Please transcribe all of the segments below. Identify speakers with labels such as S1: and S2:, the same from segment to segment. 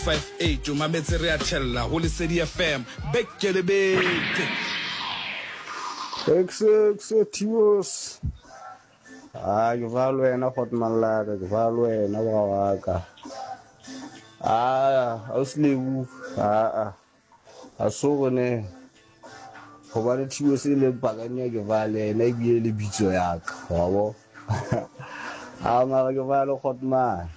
S1: 58 o mametse re a thella ho Lesedi FM beke le beke.
S2: Ekse Tibos. Ah, ke fa le wena Hotman la ka, ke fa le wena bra wa ka. Ah, ausi Lebu, ah ah. A so re ne hobane Tibos e le pakane ke fa le yena ebile le bitso ya ka, wa bo. A mara ke fa le Hotman.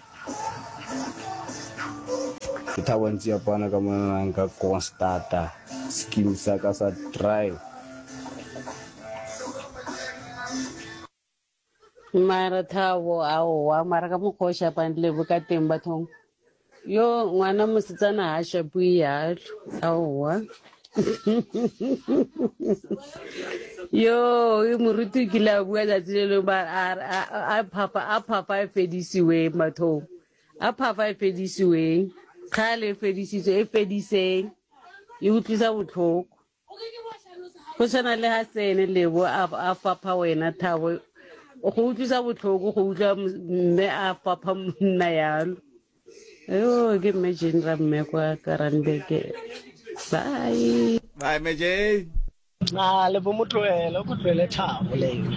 S2: Ke Thabo Ntsiapana ka mona nka Constata scheme sa ka sa drive.
S3: Mara Thabo aowa mara ka mokgwa o shapang Lebo ka teng bathong yo ngwana mosetsana ha shapiwe yalo aowa yo e moruti o kile a bua tsatsi le lengwe ba a phafa a phafa e fedisiweng bathong a phafa e fedisiweng kgale e fedisitswe e fediseng e utlwisa botlhoko Go tshwana le ha Sene Lebo a fapha wena Thabo, go utlwisa botlhoko go utlwa mme a fapha monna yalo. Yo ke mme Jane ra mme kwa Karanbeke. Bye.
S4: Bye mme Jane.
S5: A le bo mo tlohele, o ko tlohele Thabo le ena.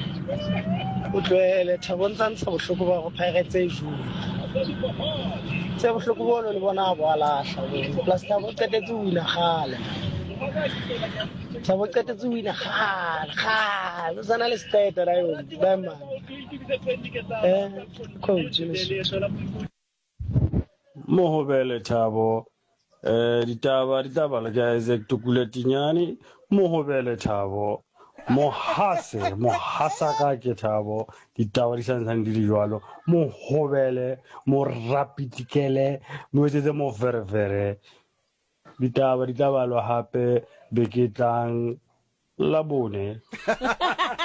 S5: O tlohele Thabo o ntsa ntsha bohloko ba go Pirates e jula. Tse bohloko bono le bona a bo a lahla bono. Plus Thabo o qetetse ho wina kgale. Thabo o qetetse ho wina kgale kgale. O sana le seqeta la yone. Bye man. Eh, coach.
S2: Mohobele Thabo eh ditaba di tla balwa ke Isaac Tukule Tinyane Mohobele Thabo Mohase mohasaka ke Thabo ditaba di santsane di le jwalo Mohobele morapitikele mo etsetse moferefere ditaba di tla balwa hape beke e tlang Labone.